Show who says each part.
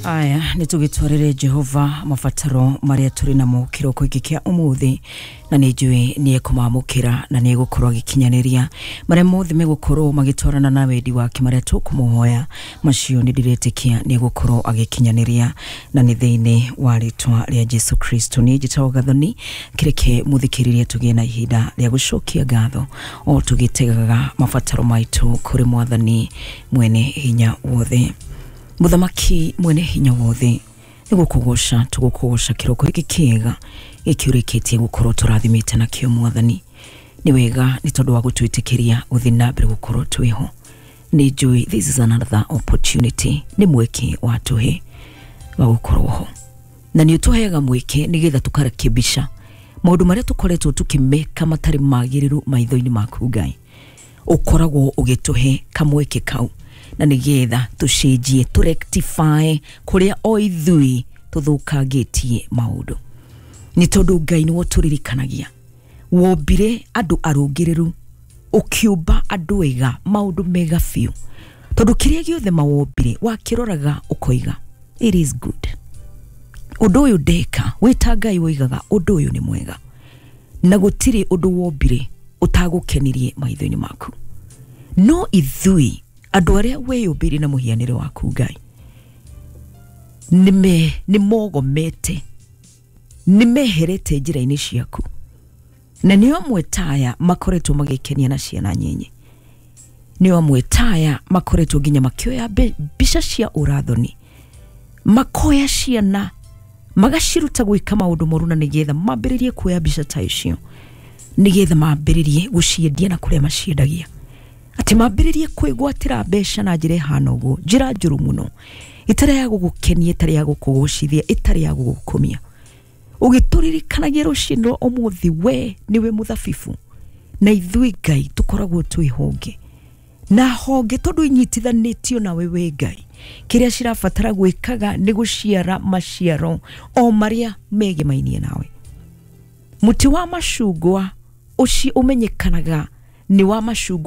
Speaker 1: Aya nä tå gä twarä Jehova mabataro marĩa tũrĩ namo kĩroko gĩkĩ kĩa ũmũthĩ, na nĩ njũĩ nĩ ekũmamũkĩra na nĩ egũkorwo agĩkinyanĩria marĩa mothe megũkorwo magĩtwarana na wendi wake marĩa tũkũmũhoya macio, nĩ ndĩretĩkia nĩ egũkorwo agĩkinyanĩria, na nĩ thĩinĩ wa rĩtwa rĩa Jesu Kristo. Niĩ njĩtagwo Gathoni. Kĩreke mũthikĩrĩrie tũgĩe na ihinda rĩa gũcokia ngatho o tũgĩtegaga mabataro maitũ kũrĩ Mwathani mwene hinya wothe. Mũthamaki mwene hinya wothe, nĩ gũkũgoca tũgũkũgoca kĩroko gĩkĩ kĩega gĩkĩ ũrĩkĩtie gũkorwo tũrathimĩte nakĩo. Mwathani, nĩ wega nĩ tondũ wa gũtwĩtĩkĩria gũthiĩ na mbere gũkorwo twĩho. Nĩ njũĩ this is another opportunity, nĩ mweke watũhe wa gũkorwo ho, na nĩ ũtũheaga mweke nĩgetha tũkarekebisha maũndũ marĩa tũkoretwo tũkĩmeka matarĩ magĩrĩru maitho-inĩ maku. Ngai, ũkoragwo ũgĩtũhe kamweke kau na nĩgetha tũcenjie, tũrectify kũrĩa o ithui tũthũkangĩtie maũndũ, nĩ tondũ Ngai nĩwe ũtũririkanagia wombire andũ arũngĩrĩru, ũkĩũmba andũ ega, maũndũ mega biũ, tondũ kĩrĩa gĩothe mawombire wakĩroraga ũkoiga, "It is good." Ũndũ ũyũ ndeka wĩta Ngai woigaga ũndũ ũyũ nĩ mwega, na gũtirĩ ũndũ wombire ũtagũkenirie maitho-inĩ maku. No ithui andũ arĩa weyũmbĩire na mũhianĩre waku, Ngai, nĩ mogomete, nĩ meherete njĩra-inĩ ciaku, na nĩo amwe taya makoretwo magĩkenia na ciana nyenye, nĩo amwe taya makoretwo nginya makĩoya mbica cia ũrathoni, makoya ciana magaciruta gwĩka maũndũ moru, na nĩgetha mambĩrĩrie kuoya mbica ta icio, nĩgetha mambĩrĩrie gũciendia na kũrĩa maciendagia, atĩ mambĩrĩrie kwĩgwatĩra mbeca na njĩra ĩhana ũguo, njĩra njũru mũno, ĩtarĩ ya gũgũkenia, ĩtarĩ ya gũkũgocithia, ĩtarĩ ya gũgũkumia. Ũgĩtũririkanagia rũcinĩ rwa ũmũthĩ, we nĩwe mũthabibu na ithuĩ, Ngai, tũkoragwo twĩ honge, na honge tondũ inyitithanĩtio nawe we Ngai, kĩrĩa cirabatara gwĩkaga nĩ gũciara maciaro o marĩa megemainie nawe. Mũtĩ wa macungwa ũcio ũmenyekanaga nĩ wa macungwa.